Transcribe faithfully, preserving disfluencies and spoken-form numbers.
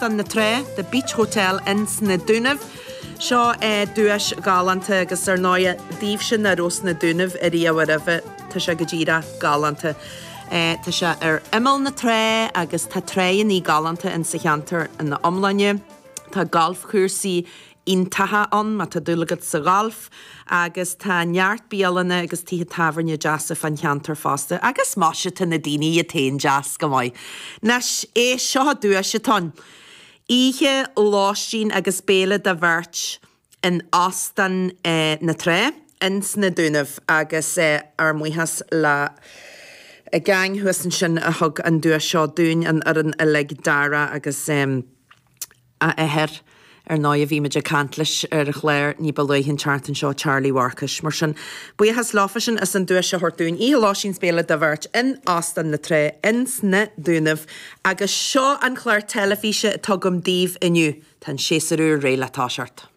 Na Trá, The Beach Hotel ins na Dúnaibh. Seo é duais galánta agus ar ndóigh daoibhse nach raibh sna Dúnaibh ariamh roimhe, tá sé go díreach galánta. Tá sé ar imeall na trá agus tá tránna galánta insa cheantar ina iomláine. Tá galfchúrsaí iontacha ann má tá dúil agat sa ghalf agus tá neart bialanna agus tithe tábhairne deasa fan cheantar fosta agus más tá na daoine iad féin deas go maith. Anois é seo duais atá ann. Oíche lóistín agus béile do bheirt in Óstán eh, na Trá ins na Dúnaibh agus eh, ár mbuíochas le a gang thuas ansin a thug an duais seo dúinn an fhoireann uilig Dara agus um, a athair ar ndóigh bhí muid ag caint leis ar an chlár ní ba luaithe an tseachtain seo Charlie Mharcais. Mar sin buíochas leofa sin as an duais a thabhairt dúinn oíche lóistín 's béile do bheirt in Óstán na Trá ins na Dúnaibh agus seo an chlár teilifíse atá agam daoibh inniu Tá an séasúr úr réidh le toiseacht.